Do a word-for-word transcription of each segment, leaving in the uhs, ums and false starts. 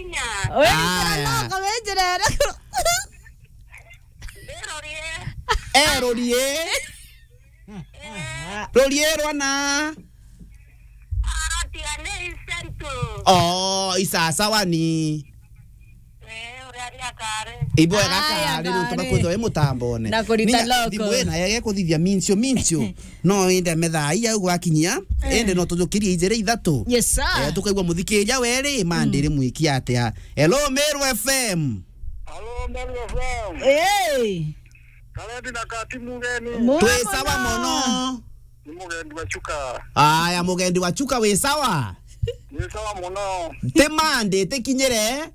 Aya. Wikara noko winjirere. Erorie. Erorie. Rorie rwana. Aratia ni Central. Oh, isasawa ni. Eh, uria aria kare. Ibwega. Aya, kare, riu tuba kare. Kwithwa i mutambone. Na kurita. Ninya loko. Thimu ina yege kuthithia mincio, mincio. No inde methaa iya gwakinyia, eh, inde no tujukirie ijiri ithatu. Yes, sir. Eh, tukaigua muthikiria weri, mandi ri mwiki atia. Hello, Meru F M. Hello, Meru F M. Hey. Karendi na Kati mugeni. Mwa Twi sawa mono. Mono. Ni mugendi wa Chuka. Aya, mugendi wa Chuka, wi sawa? Ni sawa mono. Ti mandi, ti kinyire?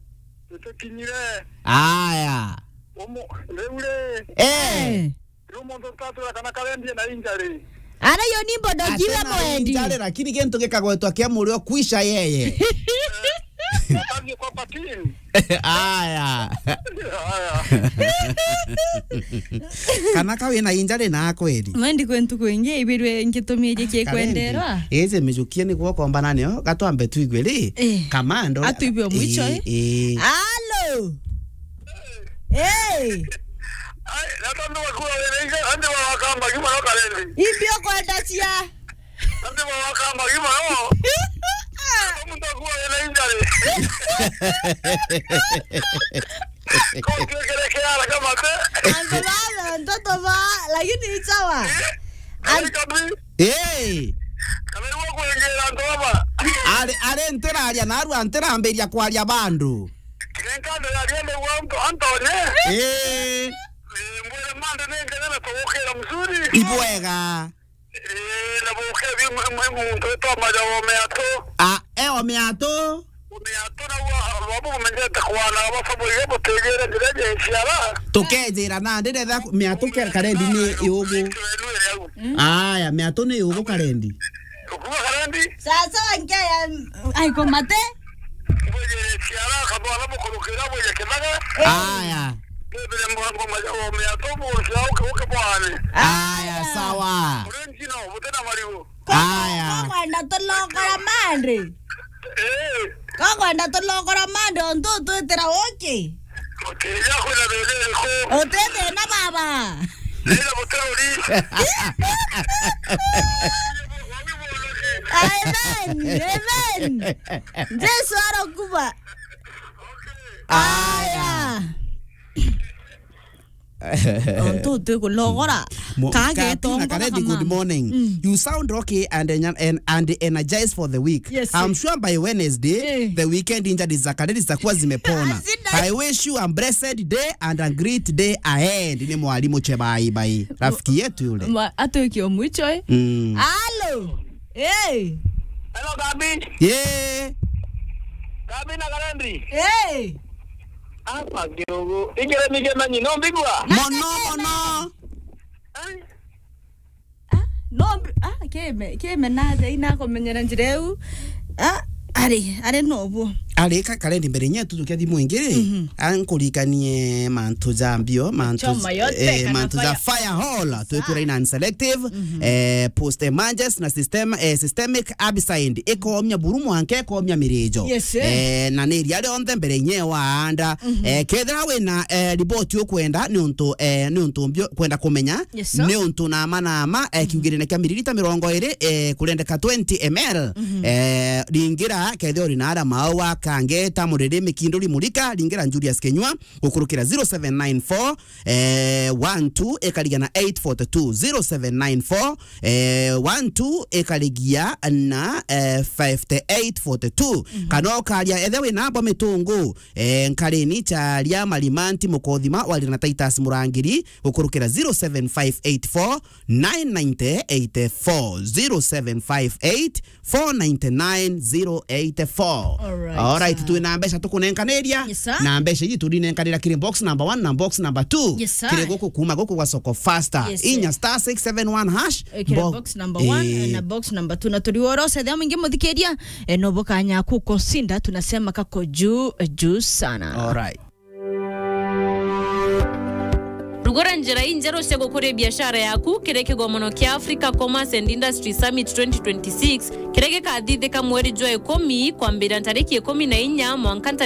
Ti kinyire. Aya. Umu, riu ri. Eh. Eh. Riu muntu utatwira kana Karendi ena injury. Ara iyo ni mbondo. Ati jira na mwendi. Injury, lakini kintu gikagwetwa kia murio kwisha yeye. Watangie kwa patini. Aya. Aya. Kana ka wina injury na kweli. Mwendi kwe ntuku ingi ibirwe ngitumirie ki kwenderwa. Eze mijukie ni guo kombana nio, gatwambe tuigwe ri. Eh. Kamando. Atuigwe mwicho, eh, eh. Eh. Alo. Eh. Ai, na tondu bakura wina injury, andi bakamba gima no Karendi. Ibi ukwenda cia. Andi bakamba gima no. Tondu bakura wina injury. Kau kekere kiara kamate. Antu baba, ntoto ba, lakini isawa. Ai, kabi. Eh. Kana iwe kwingira antu baba. Ari, ari ntiraria narua ntirambiria kwaria bandu. Nenkande yaria ndigwa antu, antonye. Eh. Eh, mbwire mande nengene na tugukira mzuri. Ibwega. Eh, na buke bi mwe, mwe muntu witwa Majawa Omeato. Ah, eh, Omeato. Omeato na wa, wabu umenyete kwana, wabu sabu ye butegere ndire je siara. Tukejira na ndire tha Meato ke Karendi ni yugu. Aya, Meato ni yugu Karendi. Ukuga Karendi? Sasa wanke ya, ai, komate? Bwejere siara, kabwala bukurukira bweje kithaga. Aya. Bebere mwango Majawa Omeato, bukia uke, uke bwane. Aya, sawa. Urengino, butena marigo. Aya. Kokwenda tulokora mande. Eh. Kokwenda tulokora mande, ontu twitira uki. Utija kwina thina iriku? Uti thina baba. Ila butururi. Amen. Amen. Jesu arokuba. Aya. Ontu twi kulogora. Mo-, ka Katina getongora Karedi, good kamani. Morning. Mm. You sound okay and en-, and, and energized for the week. Yes, I'm sir. Sure by Wednesday, eh, the weekend injuries za Karedi zitakuwa zimepona. Asida. I wish you a blessed day and a great day ahead. Ni mwalimu Chebai Bai. Rafiki yetu yule. Ma-, atwiki o mwicho, eh? Mm. Alo. Hey. Hello, Gabi. Yeah. Gabi na Karedi. Hey. Apa kidogo. Ingere mige manyi, no mbigwa? Mono, mono. Eh? Ah, no mbi-, ah, keme, keme na thei na kumenyera njira iu. Ah, ari, ari no bo. Ari ka Karendi mbere nye tutukia thimu ingi ri. Mhm. Ankurikanie mantu ja mbio, mantu, choma yote, eh, kana mantu ja fire. Fire hall, twikura in unselective, mhm, eh, post emergence na system, eh, systemic herbicide. Ikomia buru mwanka, ikomia mirijo. Yes, eh. Eh, na ni iria rionthe mbere inye waanda. Mhm. Eh, kethira wina, eh, riboti ukwenda, ni untu, eh, ni untu mbio kwenda kumenya, yes, sir, ni untu nama nama, eh, mhm, kiugirine kia miririta mirongo iri, eh, kurendeka twenty M L. Mhm. Eh, ringira, kethira uri na ara maua, kange, ta muriri, mikinduri, murika, ringira Julius Kenyua, gukurukira zero seven nine four, eh, one two ikarigia na eight forty two, zero seven nine four, eh, one two ikarigia na, eh, fifty eight forty two. Mhm. Kana ukaria ethe wina mbo mitungu, eh, nkarini charia marimanti mukothima waria na Titus Murangiri gukurukira zero seven five eight four nine nine eight four, zero seven five eight four nine nine zero eight four. Alright, alright, sir. Twina mbeca tukunenkaniria. Yes, sir. Na mbeca iji turinenkanira kiri box number one na box number two. Yes, sir. Kiri guku kuma guku gwa Soko Faster. Yes, sir. Inya star six seven one hash. Eh, kiri bo-, box number one, eh, na box number two. Na turi worose thia mwingi muthikiria, eh, no bukanya kukosinda, tunasema kako juu, eh, juu sana. Alright. Rugura njira injeru cia gukuria biashara yaku kiri kigomono kia Africa Commerce and Industry Summit twenty twenty-six, kiria gikathithika mweri jwa ikumi, kwambira ntariki ikumi na inya mwanka